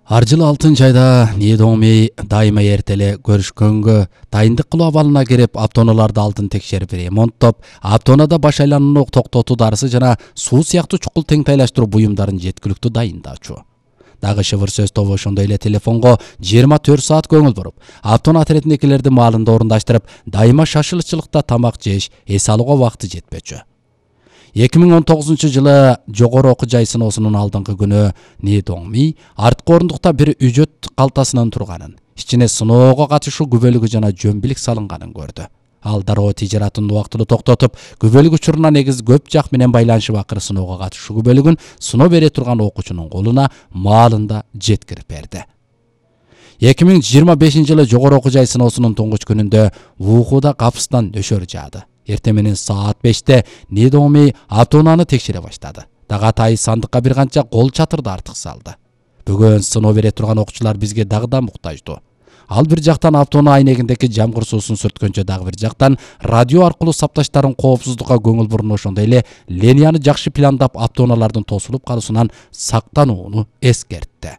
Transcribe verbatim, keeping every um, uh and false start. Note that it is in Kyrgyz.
Ар жылы алтынчы айда Недоми дайыма эртеле көрүшкөнгө дайындык кылуу абалына кирип, автоунааларды алдын текшерип, ремонттоп, автоунада баш айланууну токтотуу дарысы жана суу сыяктуу чукул теңтайлаштыруу буюмдарын жеткиликтүү дайындаачу. Дагы шыбыр сөз тобу ошондой эле телефонго жыйырма төрт саат көңүл буруп, автоунаа отрядникилерди маалында орундаштырып, дайыма шашылчылыкта тамак жеш, эс алууга вакыты жетпечү. эки миң он тогузунчу жылы жогору окуу жай сыноосунун алдыңкы күнү Недоми арткы орундукта бир үжөт калтасынын турганын, ичине сыноого катышуу күбөлүгү жана жөмбилик салынганын көрдү. Ал дароо тижаратын убактылуу токтотуп, күбөлүк учуруна негиз көп жак менен байланышып, акыры сыноого катышуу күбөлүгүн сыноо бере турган окуучунун колуна маалында жеткирип берди. эки миң жыйырма бешинчи жылы жогору окуу жай сыноосунун туңгуч күнүндө Ухуда капыстан нөшөр жаады. Эртең менен саат беште Недоми автоунааны текшере баштады. Дагы сандыкка бир канча кол чатырды артык салды. Бүгүн сыноо бере турган окуучулар бизге дагы да муктаждуу. Ал бир жактан автоунаа айнегиндеги жамгыр суусун сүрткөнчө, дагы бир жактан радио аркылуу сапташтарын коопсуздукка көңүл буруну, ошондой эле линияны жакшы пландап, автоунаалардын тосулуп калуусунан сактанууну эскертти.